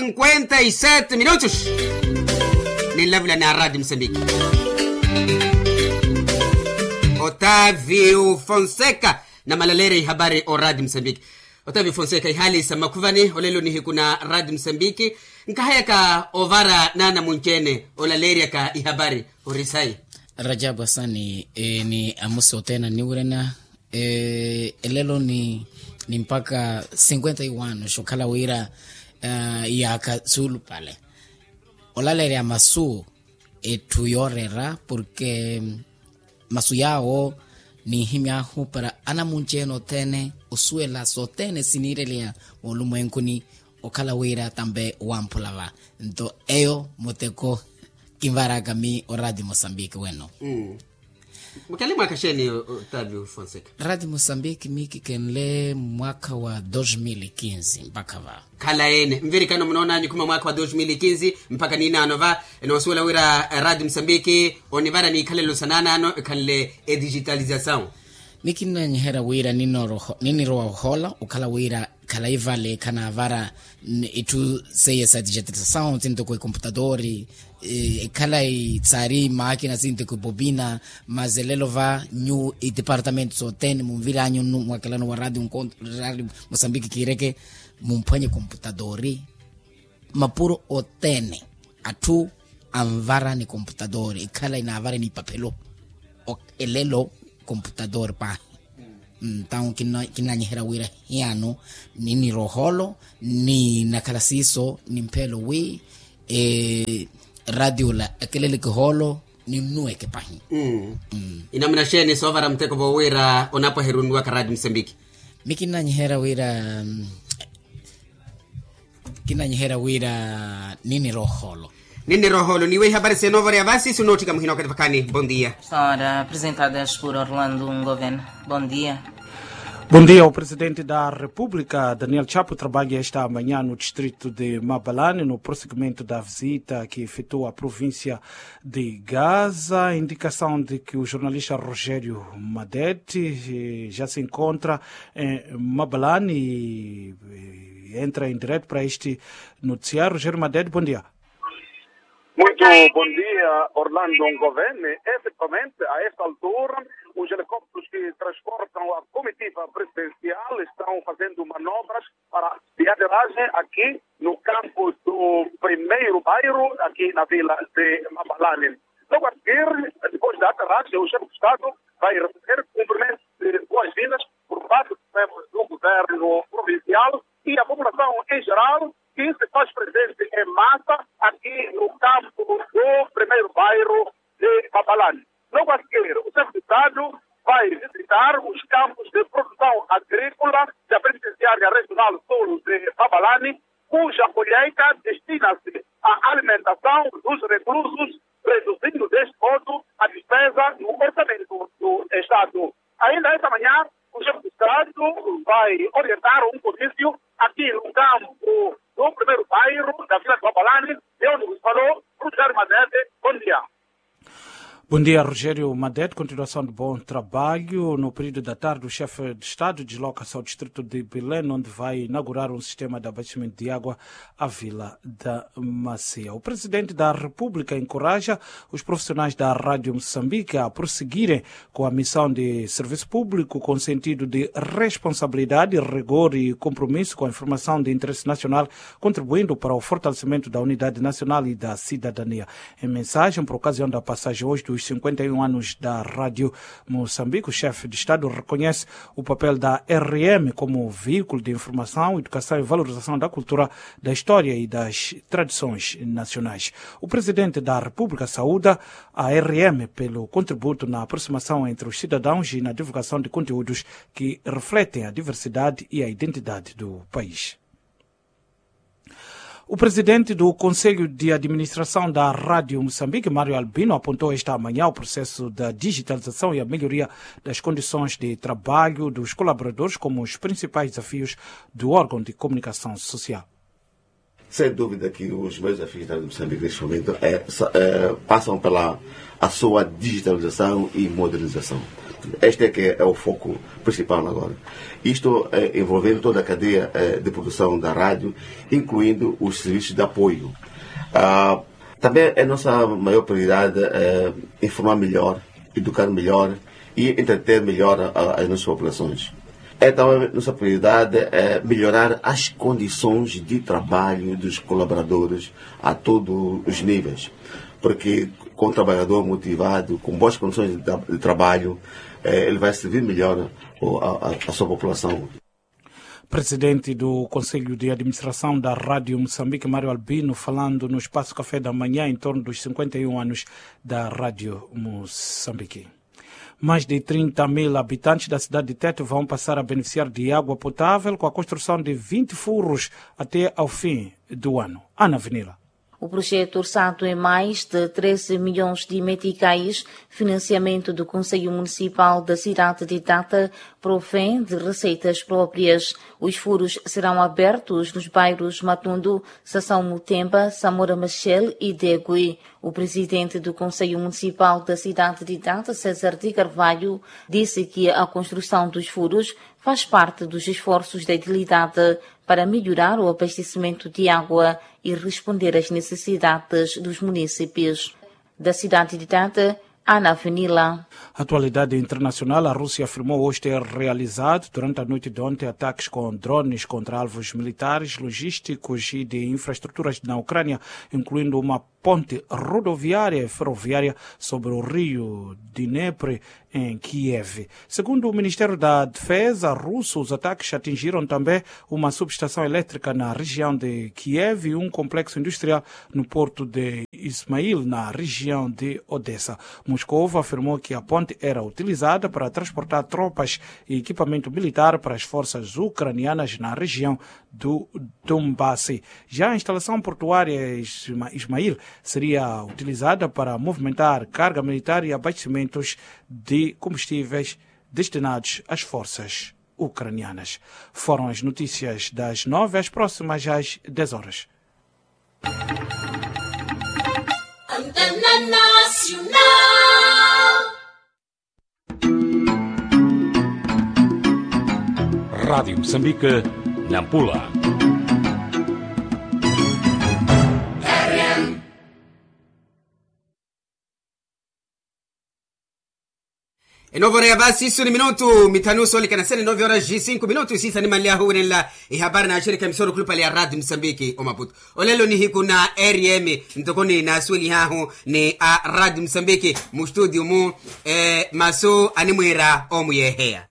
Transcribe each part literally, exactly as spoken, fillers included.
Cinquenta e sete minutos. Ninlavula ni aradi musambiki. Otavio fonseca na malaleerya ihabari oradi musambiki. Otavio fonseca ihali sa makhuvani olelo nihiku na radi musambiki. Nkahayaka ovara nana munci-ene olaleeryaka ihabari orisayi. Rajabu asani ni amusi othene anniwirena. Elelo ni mpaka cinquenta e um anos okhala wira yaaka suulupale olaleerya masu etthu yooreera porke masu yaawo ninhimy'ahu para anamunci-ene othene osuwela sothene siniireliha moolumwenkuni. Okhala wira tampe wamphula va nto eyo muteko kinvaraka mi oradi mosambiki weno. Mukele mwaka xeeni? Otavio fonseca. Radi mosambiki mi kikenle mwaka wa dos mil e quinze mpakha va. Khala ene nvirikano munoonanyu khuma mwaka wa dos mil e quinze mpakha ninaano va. Enoosuwela wira radi mosambiki onivara n'ikhalelo sa naanaano ekhanle edigitalizasaw. Mi kinnanyiherya wira ninirowa ohoola okhala wira khalayi vale khanaavara itthu seiya sa digitalizasaw sintoko ekomputatori. Ekhalayi saari maakina sintoko ebobina. Mazelelo va nyu itipartamentu sothene munviranyu nnu mwakelano wa radi mosambiki kiireke mumphwanye komputatori. Mapuro othene atthu anvara ni komputatori ekhalayi naavara ni ipaphelo. Elelo komputatori paahi. Ntawu kinnanyiherya wira hiyano niniroholo ni nakhala siiso nimpheelo wi radio la akeleleke hoolo ninnuweke pahi. Inamuna xeeni soovara muteko voowira onapwaherunnuwaka radio musambiki? Mi kinnanyiherya wira kinnanyiherya wira ninniroholo. Ninniroholo niiwe ihapari seenoovoreya vasi sunootthika muhina okathi vakhaani bondia. Sara apresentadas por orlando ngovena. Bondia. Bondia o presidente da república daniel chapo trabalha esta manhã no distrito de mabalane no prosseguimento da visita que efetua a província de gaza indicação de que o jornalista rogério madete já se encontra em mabalane. Entra em direto para este noticiário rogério madete bondia. Muito bondia orlando ngovene. Efetivamente a esta altura os helicópteros que transportam a comitiva presidencial estão fazendo manobras para a aterragem aqui no campo do primeiro bairro aqui na vila de mabalane. Logo a seguir depois da aterragem o chefe de estado vai receber cumprimentos de boas-vindas por parte dos membros do governo provincial e a população em geral que se faz presente em massa aqui no campo do primeiro bairro de mabalane. Logo a seguir o chefe de estado vai visitar os campos de produção agrícola da penitenciária regional sul de mabalane, cuja colheita destina-se à alimentação dos reclusos, reduzindo deste modo a despesa no orçamento do estado. Ainda esta manhã o chefe de estado vai orientar um comício aqui no campo do primeiro bairro da vila de mabalane. De onde vos falou rogério madete. Bondia. Bondia rogério madete continuação de bom trabalho no período da tarde o chefe de estado desloca-se ao distrito de belém onde vai inaugurar um sistema de abastecimento de água à vila da macia. O presidente da república encoraja os profissionais da rádio moçambique a prosseguirem com a missão de serviço público com sentido de responsabilidade rigor e compromisso com a informação de interesse nacional, contribuindo para o fortalecimento da unidade nacional e da cidadania. Em mensagem por ocasião da passagem hoje dos cinquenta e um anos da rádio moçambique o chefe de estado reconhece o papel da rm como veículo de informação educação e valorização da cultura, da história e das tradições nacionais. O presidente da república saúda a rm pelo contributo na aproximação entre os cidadãos e na divulgação de conteúdos que refletem a diversidade e a identidade do país. O presidente do conselho de administração da rádio moçambique mário albino apontou esta manhã o processo da digitalização e a melhoria das condições de trabalho dos colaboradores como os principais desafios do órgão de comunicação social. Sem dúvida que os meios afins da Rádio Moçambique neste momento passam pela a sua digitalização e modernização. Este é que é o foco principal agora. Isto envolvendo toda a cadeia de produção da rádio, incluindo os serviços de apoio. Também é nossa maior prioridade informar melhor, educar melhor e entreter melhor as nossas populações. É também nossa prioridade melhorar as condições de trabalho dos colaboradores a todos os níveis, porque com um trabalhador motivado, com boas condições de trabalho, ele vai servir melhor a sua população. Presidente do Conselho de Administração da Rádio Moçambique, Mário Albino, falando no Espaço Café da Manhã em torno dos cinquenta e um anos da Rádio Moçambique. Mais de trinta mil habitantes da cidade de Tete vão passar a beneficiar de água potável com a construção de vinte furos até ao fim do ano. Ana Vinila. O projeto, orçado em mais de treze milhões de meticais, financiamento do Conselho Municipal da cidade de Tete, provém de receitas próprias. Os furos serão abertos nos bairros Matundo, Sasaw Mutemba, Samora Machel e Degui. O presidente do Conselho Municipal da cidade de Tete, César de Carvalho, disse que a construção dos furos faz parte dos esforços da entidade para melhorar o abastecimento de água e responder às necessidades dos municípios. Da cidade de Tete, Ana Vinila. Atualidade internacional, a Rússia afirmou hoje ter realizado durante a noite de ontem ataques com drones contra alvos militares, logísticos e de infraestruturas na Ucrânia, incluindo uma ponte rodoviária e ferroviária sobre o rio Dnepr, em Kiev. Segundo o Ministério da Defesa russo, os ataques atingiram também uma subestação elétrica na região de Kiev e um complexo industrial no porto de Ismail, na região de Odessa. Moscou afirmou que a ponte era utilizada para transportar tropas e equipamento militar para as forças ucranianas na região do Donbass. Já a instalação portuária Ismail seria utilizada para movimentar carga militar e abastecimentos de combustíveis destinados às forças ucranianas. Foram as notícias das nove, as próximas às dez horas. Antena Nacional. Rádio Moçambique, Nampula. Enovo ora ya vasi isu ni minutu mithanu soolekana sene nove horas e cinco minutu isiisa nimanlyahu wirenla. Ehabari na axirika emisoro khulupale ya radio mosambiki omaputo. Olelo nihiku na rm ntoko ni naasuwelihahu ni a radio mosambiki mu studio mu. Masu animwiira omuyeeheya.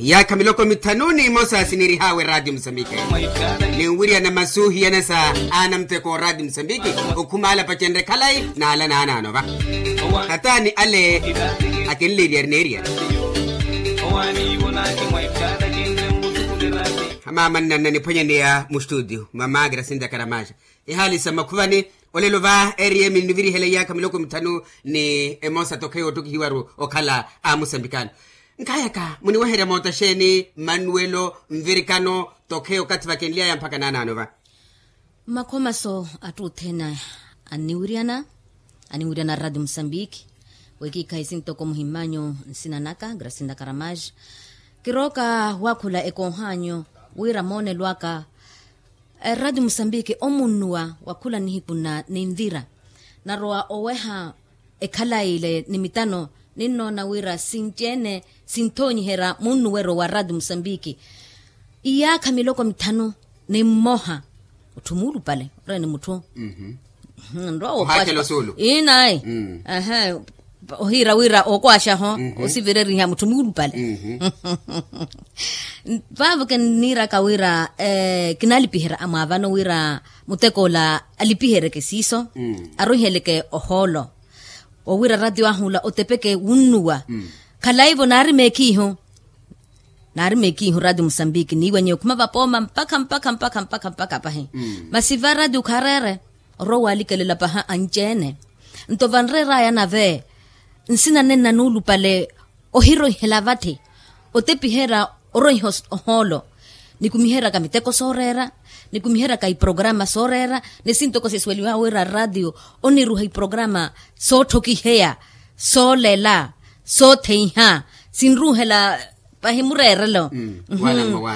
Iyaakha miloko mithanu n'imosa siniirihaawe radio mosambiki. Ninwirya na masu hiyanasa aana muteko radio mosambiki. Okhuma ala pacenre khalayi n'ala naanaano va. Khataani ale akinleerya ari neerya. Maama nnanna niphwanyaneya mu studio mama grasinda karamaxa. Ihaali sa makhuvani. Olelo va rm nniviriheleiyaakha miloko mithanu ni emosa tokheya oottukihiwaru okhala a musambikano. Nkhaayaka muniweherya moota xeeni mmanuwelo nvirikano tokheya okathi vakenly'aya mpakha naanaano va. Mmakhomaso atthu othene anniwiryana anniwiryana radio mosambiki. Wekiikhayi sintoko muhimmanyu nsina naka grasinda karamaxa. Kirooka waakhula ekoohanyu wira moonelo aka eradio mosambiki omunnuwa wa khula nihiku na ninvira narowa oweha ekhalayi ile ni mitano. Ninnoona wira sinci-ene sinthonyiherya munnuweryo wa radio mosambiki. Iyaakha miloko mithanu ni mmoha mutthu muulupale ore ni mutthu nrowa wookwaaxa. Inayi. Ohiira wira ookwaaxaho osivireriha mutthu muulupale. Vaavo kinniiraka wira kinaalipiherya amwaavano wira mutek'ola alipiheryeke siiso arwiheleke ohoolo. Owira ratio ahu ola otepeke wunnuwa. Khalaivo naari meekhiihu naari meekhiihu ratio mosambiki niiwanye okhuma vapooma mpakha mpakha mpakha mpakha mpakha pahi. Masi va ratio khareere orwa walikelela paha anci-ene. Nto vanreeraya nave nsina nenna nuulupale ohironhela vatthi otepiherya oronha ohoolo. Nikumiheryaka miteko sooreera, nikumiheryaka iprograma sooreera, ni sintoko sisuweliwa wira ratio oniruha iprograma sootthokiheya, soolela, sootheiha, sinruhela pahi mureerelo.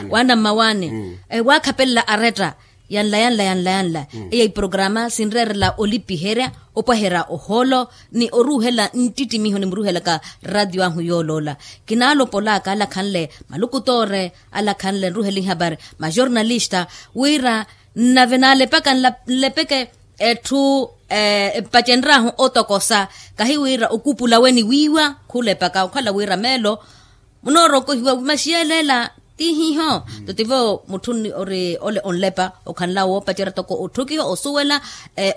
Wana mmawaani waakhapelela aretta yanla yanla yanla yanla. Eya iprograma sinreerela olipiherya, opwaherya ohoolo, ni oruhela nttittimiho nimuruhelaka ratio ahu yooloola. Kinaalopolaka alakhanle malukutoore, alakhanle nruhela ihapari majornalista, wira nnave naalepaka nlepeke etthu empacenryahu otokosa. Kahi wira okupula we ni wiiwa khulepaka okhala wira meelo munoorokohiwa maxiyeleela. Tihiho tutivo mutthu ori ole onlepa okhanla woopacerya toko otthokiha osuwela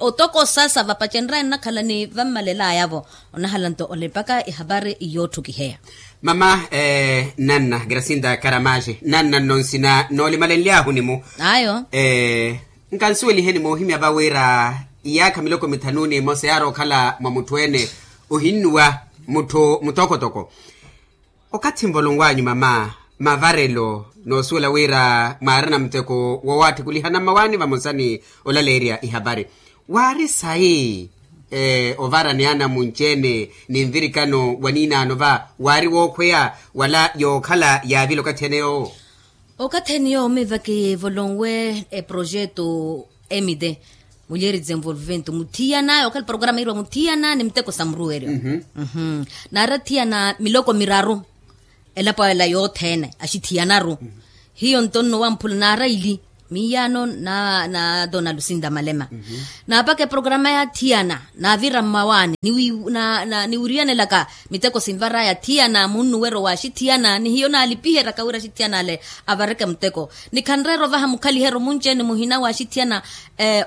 otokosa sa vapacenryaye nnakhala ni vammalelaya-vo. Onahala nto olepaka ehapari yootthokiheya. Mama, nanna gracinda karamaxe nanna nno nsina noolimalenly'ahu nimu ayo. Nkansuweliheni moohimya va wira iyaakha miloko mithanu n'imosa yaari okhala mwa mutthu-ene ohinnuwa mutthu mutokotoko. Okathi nvolonw'anyu mama, mavarelo noosuwela wira mwaarina muteko woowaattikulihana mmawaani vamosa ni olaleerya ihapari, waari sayi ovara ni anamunci-ene ni nvirikano wa niinaano va waari wookhweya wala yookhala yaavile okathi ene yoowo? Okathi ene yoowo miiva kivolonwe eprojeto emite mulheres desenvolvimento muthiyana okhala programa yiiriwa muthiyana ni miteko sa muruweryo. Naari athiyana miloko miraru elapo ela yothene axithiyanaru. Hiyo nto nno wamphula naari aili miiyano na dona lucinda malema. Naapaka eprograma yaathiyana naavira mmawaani niwiriyanelaka miteko sinvaraya athiyana munnuweryo wa axithiyana ni hiyo naalipiheryaka wira axithiyana ale avareke muteko. Ni khanreera ovaha mukhaliheryo munci-ene muhina wa axithiyana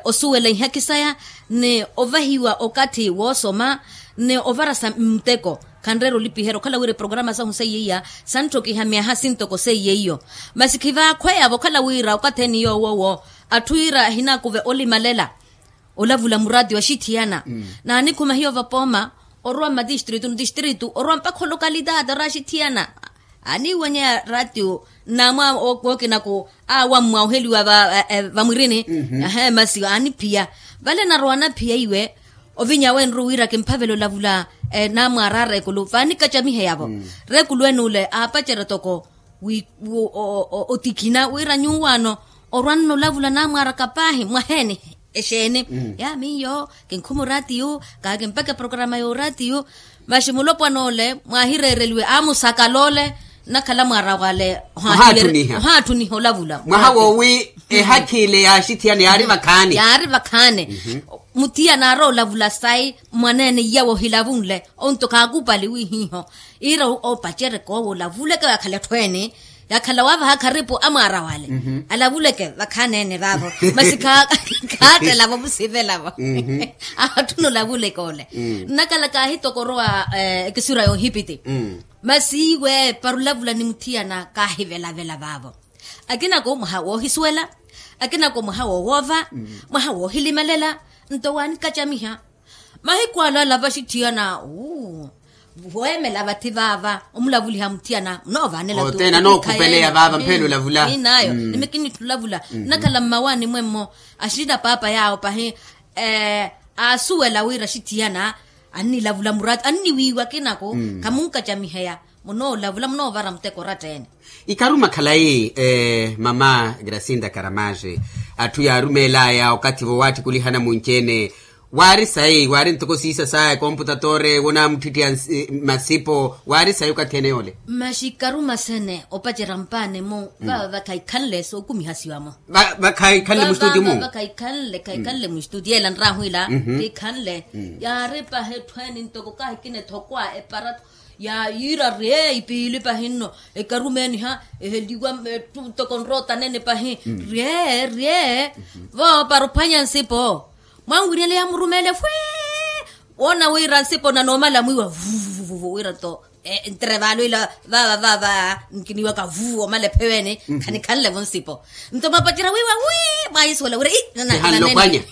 osuwela ihaki saya ni ovahiwa okathi woosoma ni ovarasa muteko. Khanreera olipiherya okhala wira eprograma sahu seiyeiya santthokiha myaha sintoko seiyeiyo. Masi khivaakhweya-vo okhala wira okathi ene yoowo atthu iira ahinaakuve olimalela olavula muraatiyo axithiyana. Naanikhuma hiyo vapooma orwa mmatistritu ni tistritu orwa mpakha olokalitaati ori axithiyana. Aaniiwanyeya raatiyo nnaamwa wookinaku aawammwa oheliwa vamwirini. Masi aaniphiya vale narowa anaphiya iwe ovinya wenru wira kimphavela olavula. Naamwaara areekulu vaanikacamiheya-vo. Reekulu ene ole aapacerya toko otikhina wira nyuwaano orwanna olavula naamwaaraka paahi mwaheeni? Exeeni ya miyo kinkhuma oraatiyo kaakimpaka eprograma y'oraatiyo. Masi mulopwana ole mwaahireereliwe aamusakala ole nnakhala mwaara wale ohaattuniha olavula mwaha woowi. Ehakhi ile yaaxithiyana yaari vakhaani yaari vakhaani. Muthiyana aari olavula sayi mwaneene iyawo ohilavunle onto khaakupali wihiiho iira oopacereke owo olavuleke waakhala etthu ene yakhala waavaha kharipu amwaara wale alavuleke vakhaneene vaavo. Masi khaattela-vo musivela-vo aatthuna olavuleke ole nnakhala kaahitokorowa ekisura y'ohipiti. Masi iwe para olavula ni muthiyana kaahivelavela vaavo akinako mwaha woohisuwela akinako mwaha woowoova mwaha woohilimelela nto waanikacamiha. Mahiku ala alava axithiyana weemela vathi vaava omulavuliha muthiyana munoovaanela oteena nookhupeleya vaava mphela olavula. Inayo nimikinitthi olavula nnakhala mmawaani mwemmo axina paapa yaawo pahi aasuwela wira axithiyana annilavula muraati anniwiiwa akinako khamunkacamiheya munoolavula munoovara muteko oratta ene. Ikaruma khalayi mama gracinda karamaxe atthu yaarumeelaya okathi voowaattikulihana munci-ene waari sayi waari ntoko siisa saya ekomputatoore wonaamuttitthiya masipo waari sayi okathi ene yoole. Masi ikaruma sene opacerya mpaani-mu vaava vakhaikhanle sookumihasiwa-mu vakhaikhanle mustutiyo-mu vakhaikhanle khayikhanle mustutiyo ela nraahu ila khikhanle yaari pahi etthu ene ntoko kaahikina ethokwa eparato ya yiira rye ipiili pahi nno ekarumeeniha eheliwa etthu ntoko nroota neene pahi rye rye voopara ophwanya nsipo mwanwiriyale yaamurumeele fwii woona wira nsipo nanoomala mwiiwa vuvuvuvu wira nto Ntere vaalwiila vava vava nkiniwaka vu omala epheweni. Khanikhanlevo nsipo. Nto mwapacerya wiiwa wi mwaisuwela wira ii nananeli.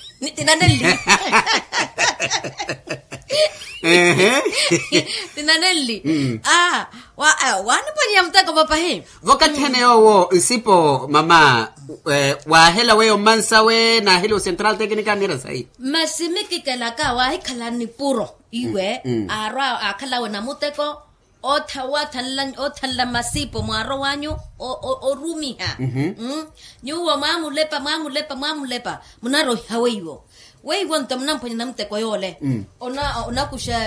Tinaneli. Aa. Waaniphwaniya muteko papahi. Vokathi ene yoowo nsipo mama. Waahela weyo mmansawe naaheliwa central tecnica anira sayi. Masi mikikelaka waahikhala nipuro iwe aarwa aakhalawe namuteko. Oothanla masipo mwaaro wanyu orumiha. Nyuwo mwamulepa mwamulepa mwamulepa munaroohiha weiwo. Weiwo nto munamphwanya namuteko yoole. Onakuxa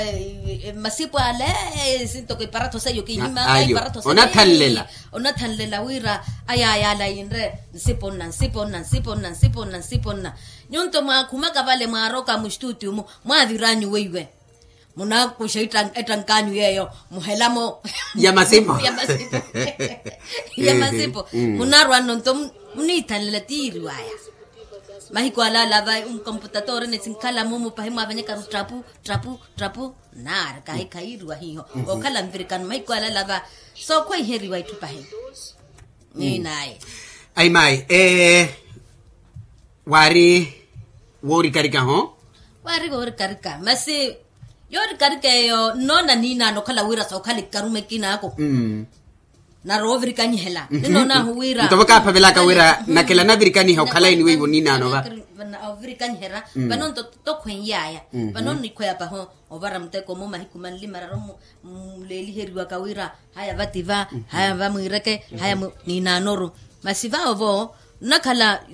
masipo ale sintoko iparatho seiyo kihimaka iparatho seiyo. Onathanlela wira ayayala yinre nsipo nna nsipo nna nsipo nna nsipo nna nsipo nna. Nyunto mwakhumaka vale mwaroka mustuti umu mwaviranyu weiwe. Munakuxa ettankanyu yeyo muhelamo ya masipo ya masipo. Munarwa nno nto muniithanlela tiiriwaya. Mahiku alala va nkomputatori nisinkhala mumu pahi mwavanyakaru ttapu ttapu ttapu. Naari kahi khayiiriwa hiho okhala nvirikano mahiku alala va sookhweiheriwa itthu pahi. Ninaye ayi mayi. Waari woorikarikaho. Waari woorikarika masi yoorikarika eyo nnoona ninaano okhala wira sookhala ikarume kinaako. Nari oovirikanyihela ninoonahu wira nto vakaaphavelaka wira nakela navirikaniha okhala eni weiwo ninaano va. Ovirikanyihela vano nto tokhweiyaya vano nikhweya paho. Ovara muteko mu mahiku manli mararu muleeliheriwaka wira haya vati va haya vamwiireke haya ninaanoru. Masi vawo vo nnakhala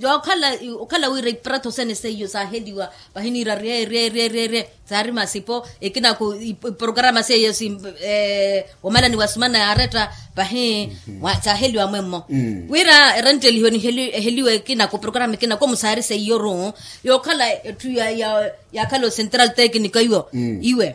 okhala wira iparatho sene seiyo saaheliwa vahiniira rye rye rye rye saari masipo ekinaku iporokrama seiyo womalani wa sumana yaaretta vahi. Saaheliwa mwemmo wira erentelihiwe niheliwe ekinaku porokrama ekinaku omu saari seiyoru yookhala etthu ya yaakhala o central tecnico iwo iwe.